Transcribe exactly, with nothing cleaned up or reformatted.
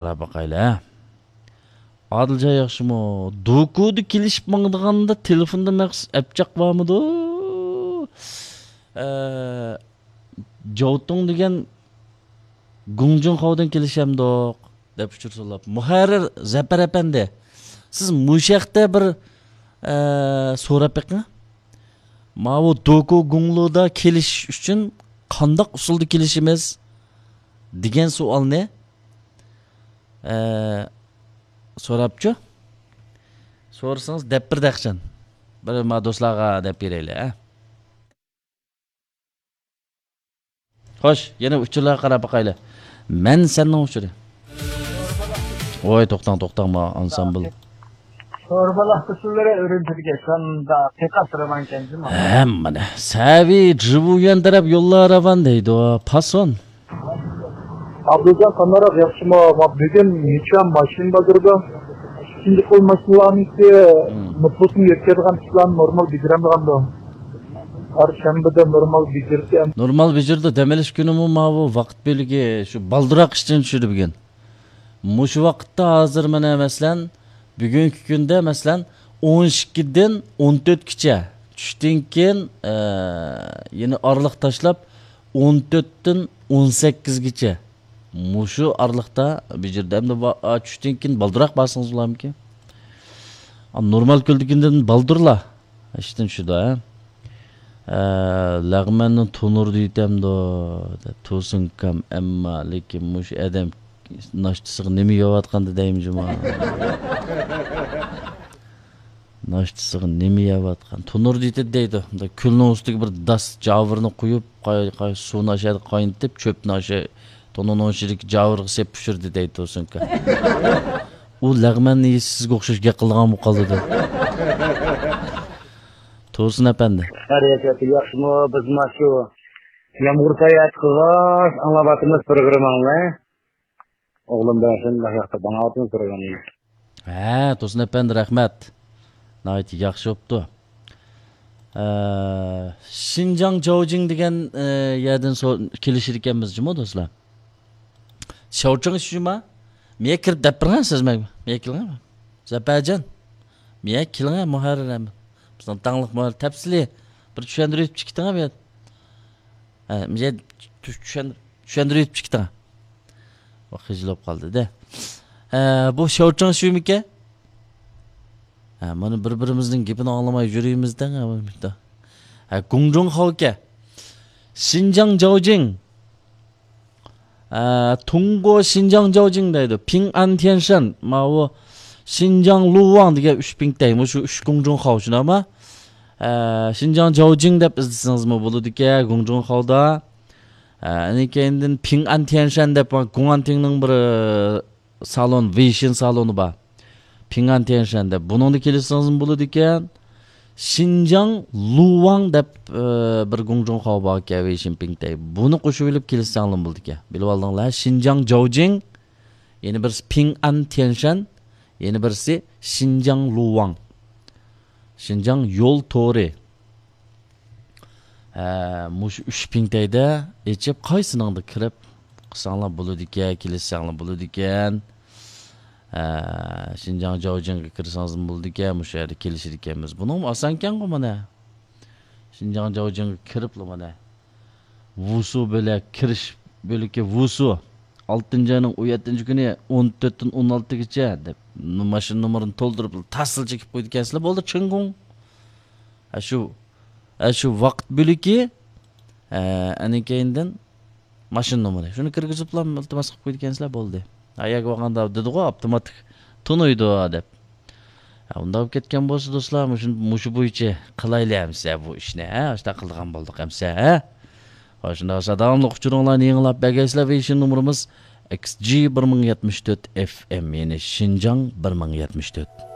قاراپ باقايلى، ھە. ئادىلجان ياخشىمۇ؟ دوكۇدا كېلىشىپ ماڭىدىغاندا تېلېفوندا مەخسۇس ئەپچاق بارمىدۇ؟ ئە، جاۋتۇڭ دېگەن گۇڭجۇڭخاۋدىن كېلىشەمدۇق؟ دەپ ئۇچۇر سوراپ. مۇھەررىر زەپەر ئەپەندى، سىز مۇشۇ ھەقتە بىر، ئە، سوراپ بېقىڭ. ماۋۇ دوكۇ گۇڭلۇدا كېلىشىش ئۈچۈن قانداق ئۇسۇلدا كېلىشىمىز؟ دېگەن سوئالنى، ئە، سوراپچۇ؟ سورىسىڭىز دەپ بېرىدۇ ئەخچان. بىر ما دوستلارغا دەپ بېرەيلى، ھە؟ خوش، يەنە ئۇچۇرلارغا قاراپ باقايلى. مەن سەننىڭ ئۇچۇرى. ۋاي، توختاڭ، توختاڭ، ما ئانسامبىل. سوربالاق ئۇسسۇللىرى ئۈرۈمچىدىكى شۇنداق قىيقاس راۋانكەن جۇمۇ. ھە، مانا. سەۋى جىۋۇيۈەن تەرەپ يوللار راۋان دەيدۇ. پاسون. ئابدۇجان قانداق ياخشىمۇ؟ ما بۈگۈن نىچان ماشىنا بازىرىدا ئىككىنچى قول ماشىنىلارنىڭكى نوپۇسىنى يەتكۈزىدىغان ئىشلارنى نورمال بېجىرەمدىغاندۇ؟ پەرشەنبىدە نورمال بېجىرسە. نورمال بېجىرىدۇ، دەم ئېلىش كۈنىمۇ ماۋۇ ۋاقىت بۆلىكى شۇ بالدۇراق ئىشتىن چۈشىدۇ بۈگۈن. مۇشۇ ۋاقىتتا ھازىر مانا مەسىلەن، بۈگۈنكى كۈندە مەسىلەن، ئون ئىككىدىن ئون تۆتكىچە، چۈشتىن كېيىن، ئە، يەنە ئارىلىق تاشلاپ، ئون تۆتتىن ئون سەككىزگىچە. مۇشۇ ئارىلىقتا بېجىردى. ئەمدى ۋا-، ئا، چۈشتىن كېيىن بالدۇراق بارسىڭىز بولامىكىن؟ ئا، نورمال كۈندىكىدىن بالدۇرلا ئىشتىن چۈشىدۇ، ھە؟ ئە، لەغمەننى تونۇردا يېتەمدۇ؟ دەپ، تۇرسۇن ئۇكام، ئەمما، لېكىن مۇشۇ ئادەم ناشتىسىغا نېمە يەۋاتقاندۇ دەيمەن جۇما. ناشتىسىغا نېمە يەۋاتقان؟ تونۇردا يېتىدۇ دەيدۇ. مۇنداق كۈلنىڭ ئۈستىگە بىر داس جاۋۇرنى قۇيۇپ، قاي-، قاي-، سۇنى ئاشۇ يەردە قاينىتىپ، چۆپنى ئاشۇ تونۇرنىڭ ئىچىدىكى جاۋۇرغا سېلىپ پىشۇردى دەيدۇ تۇرسۇن ئۇكا. ئۇ لەغمەننى يېسە سىزگە ئوخشاش گەپ قىلىدىغان بولۇپ قالىدۇ. تۇرسۇن ئەپەندى. خەيرىيەت، ياخشىمۇ؟ بىز مانا شۇ يامغۇر ساياھەت قىلغاچ ئاڭلاۋاتىمىز پروگرامماڭلار. ئوغلۇم بىلەن شۇنداق ياخشى باڭاۋاتىمىز پروگراممىنى. ھە، تۇرسۇن ئەپەندى، رەھمەت. ناھايىتى ياخشى بوپتۇ. ئە، شىنجاڭ جاۋجىڭ دېگەن، ئە، يەردىن سو-، كېلىشىدىكەنمىز جۇمۇ دوستلار. شاۋچىڭ شۇما؟ مېيە كىرىپ دەپ بېرىڭە سىز مەن. مېيە كېلىڭە. زەپەرجان. مېيە كېلىڭە مۇھەررىر ھەم. بىزنىڭ داڭلىق مۇھەررىر تەپسىلىي بىر چۈشەندۈرۈپ چىقىتىڭە بۇ يەردە. ھە، مېيە چۈشەن-، چۈشەندۈرۈپ چىقىتىڭە. ۋاق خىجىل بولۇپ قالدى دە. ئە، بۇ شاۋچىڭ شۇمىكەن؟ ھە، مانا بىر-بىرىمىزنىڭ گېپىنى ئاڭلىماي يۈرىمىز دەڭ. ھە، گۇڭجۇڭ خاۋكەن. شىنجاڭ جاۋجىڭ. ئە، تۇڭگو شىنجاڭ جاۋجىڭ دەيدۇ. پىڭئەن تيەنشەن. ماۋۇ شىنجاڭ لۇۋاڭ دېگەن ئۈچ پىڭتەي. مۇشۇ ئۈچ گۇڭجۇڭ خاۋ شۇنداقمۇ؟ ئە، شىنجاڭ جاۋجىڭ دەپ ئىزدىسىڭىزمۇ بولىدىكەن، گۇڭجۇڭ خاۋدا. ئە، ئەنە كەينىدىن پىڭئەن تيەنشەن دەپ، گۇڭئەنتىڭنىڭ بىر، ئە، سالون، ۋېيشىن سالونى بار. پىڭئەن تيەنشەن دەپ. بۇنىڭدا كېلىشسىڭىزمۇ بولىدىكەن. شىنجاڭ لۇۋاڭ دەپ، ئە، بىر گۇڭجۇڭ خاۋ باركەن، ۋېيشىن پىڭتەي. بۇنى قوشۇۋېلىپ كېلىشسەڭلارمۇ بولىدىكەن. بىلىۋالدىڭلار. شىنجاڭ جاۋجىڭ، يەنە بىرسى پىڭئەن تيەنشەن، يەنە بىرسى شىنجاڭ لۇۋاڭ. شىنجاڭ يول تورى. ھە، مۇشۇ ئۈچ پىڭتەيدە ئېچىپ، قايسىنىڭدا كىرىپ قىلساڭلار بولىدىكەن، كېلىشسەڭلار بولىدىكەن. ھە، شىنجاڭ جاۋجىڭغا كىرسىڭىزمۇ بولىدىكەن، مۇشۇ يەردە كېلىشىدىكەنمىز. بۇنىڭمۇ ئاسانكەنغۇ مانا. شىنجاڭ جاۋجىڭغا كىرىپلا مانا. ۋۇسۇ بۆلەك، كىرىش بۆلىكى ۋۇسۇ. ئالتىنچى ئاينىڭ ئون يەتتىنچى كۈنى ئون تۆتتىن ئون ئالتىگىچە دەپ، ماشىنا نومۇرىنى تولدۇرۇپ، تاسلا چېكىپ قويىدىكەنسىلەر، بولدى، چىڭگۇڭ. ھە، شۇ، ھە، شۇ ۋاقىت بۆلىكى، ھە، ئەنە كەينىدىن ماشىنا نومۇرى. شۇنى كىرگۈزۈپلا ئىلتىماس قىلىپ قويىدىكەنسىلەر، بولدى. ھە، يەرگە بارغاندا دېدىغۇ، ئاپتوماتىك تونۇيدۇ دەپ. ھە، ئۇنداق بولۇپ كەتكەن بولسا، دوستلار، مۇشۇ، مۇشۇ بويىچە قىلايلى ئەمسە بۇ ئىشنى، ھە؟ ئاشۇنداق قىلىدىغان بولدۇق ئەمسە، ھە؟ ھە، شۇنداق بولسا، داۋاملىق ئۇچۇرۇڭلارنى يېڭىلاپ بەرگەيسىلەر. ۋېيشىن نومۇرىمىز ئېكس جى بىر مىڭ يەتمىش تۆت ئېف ئېم، يەنى شىنجاڭ بىر مىڭ يەتمىش تۆت.